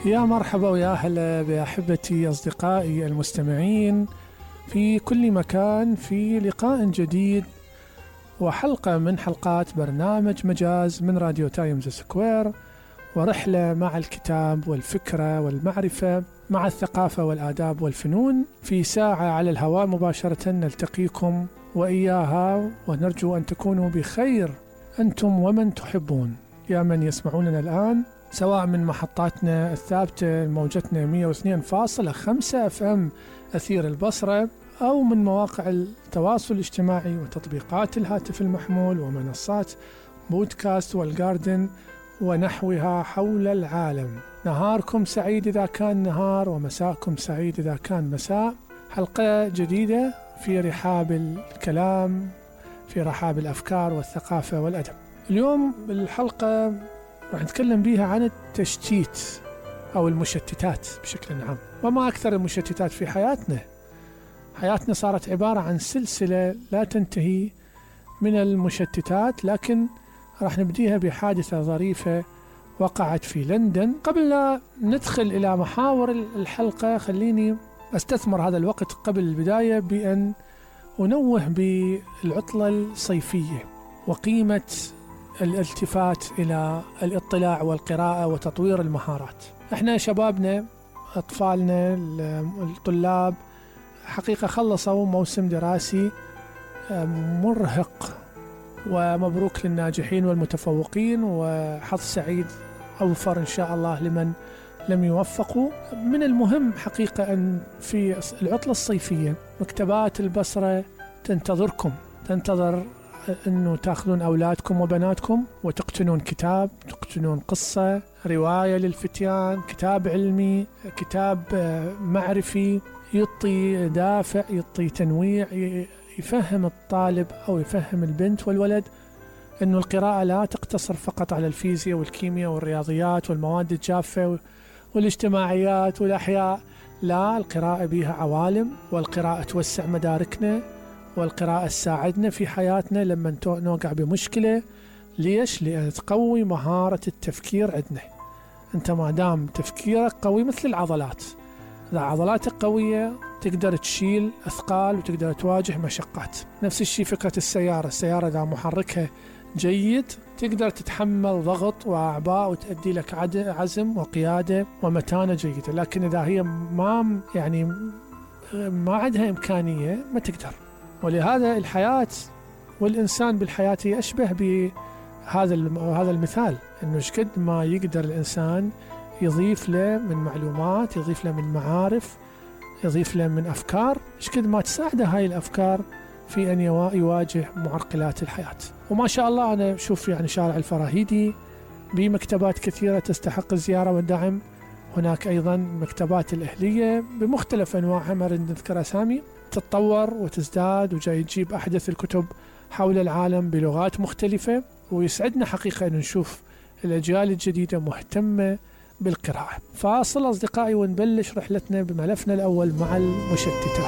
يا مرحبا ويا أهلا بأحبتي أصدقائي المستمعين في كل مكان، في لقاء جديد وحلقة من حلقات برنامج مجاز من راديو تايمز سكوير، ورحلة مع الكتاب والفكرة والمعرفة مع الثقافة والآداب والفنون في ساعة على الهواء مباشرة نلتقيكم وإياها، ونرجو أن تكونوا بخير أنتم ومن تحبون يا من يسمعوننا الآن، سواء من محطاتنا الثابتة موجتنا 102.5 FM أثير البصرة، أو من مواقع التواصل الاجتماعي وتطبيقات الهاتف المحمول ومنصات بودكاست والجاردن ونحوها حول العالم. نهاركم سعيد إذا كان نهار، ومساءكم سعيد إذا كان مساء. حلقة جديدة في رحاب الكلام، في رحاب الأفكار والثقافة والأدب. اليوم الحلقة راح نتكلم بيها عن التشتيت أو المشتتات بشكل عام. وما أكثر المشتتات في حياتنا. حياتنا صارت عبارة عن سلسلة لا تنتهي من المشتتات، لكن راح نبديها بحادثة ظريفة وقعت في لندن. قبل لا ندخل إلى محاور الحلقة، خليني أستثمر هذا الوقت قبل البداية بأن أنوه بالعطلة الصيفية وقيمة الالتفات إلى الاطلاع والقراءة وتطوير المهارات. احنا شبابنا، أطفالنا، الطلاب حقيقة خلصوا موسم دراسي مرهق، ومبروك للناجحين والمتفوقين، وحظ سعيد أوفر إن شاء الله لمن لم يوفقوا. من المهم حقيقة أن في العطلة الصيفية مكتبات البصرة تنتظركم، تنتظر أنه تأخذون أولادكم وبناتكم وتقتنون كتاب، تقتنون قصة، رواية للفتيان، كتاب علمي، كتاب معرفي يعطي دافع، يعطي تنويع، يفهم الطالب أو يفهم البنت والولد أنه القراءة لا تقتصر فقط على الفيزياء والكيمياء والرياضيات والمواد الجافة والاجتماعيات والأحياء. لا، القراءة بها عوالم، والقراءة توسع مداركنا، والقراءة تساعدنا في حياتنا لما نوقع بمشكلة. ليش؟ لأن تقوي مهارة التفكير عندنا. أنت ما دام تفكيرك قوي مثل العضلات، إذا عضلاتك قوية تقدر تشيل أثقال وتقدر تواجه مشقات. نفس الشيء فكرة السيارة إذا محركها جيد تقدر تتحمل ضغط وأعباء وتؤدي لك عزم وقيادة ومتانة جيدة. لكن إذا هي ما عندها إمكانية ما تقدر. ولهذا الحياة والإنسان بالحياة هي أشبه بهذا المثال، أنه شقد ما يقدر الإنسان يضيف له من معلومات، يضيف له من معارف، يضيف له من أفكار، شقد ما تساعده هاي الأفكار في أن يواجه معرقلات الحياة. وما شاء الله أنا أشوف شارع الفراهيدي بمكتبات كثيرة تستحق الزيارة والدعم. هناك أيضا مكتبات الأهلية بمختلف أنواعها، ما نريد نذكر أسامي، تتطور وتزداد وجاي تجيب أحدث الكتب حول العالم بلغات مختلفة. ويسعدنا حقيقة أن نشوف الأجيال الجديدة مهتمة بالقراءة. فاصل أصدقائي ونبلش رحلتنا بملفنا الأول مع المشتتات.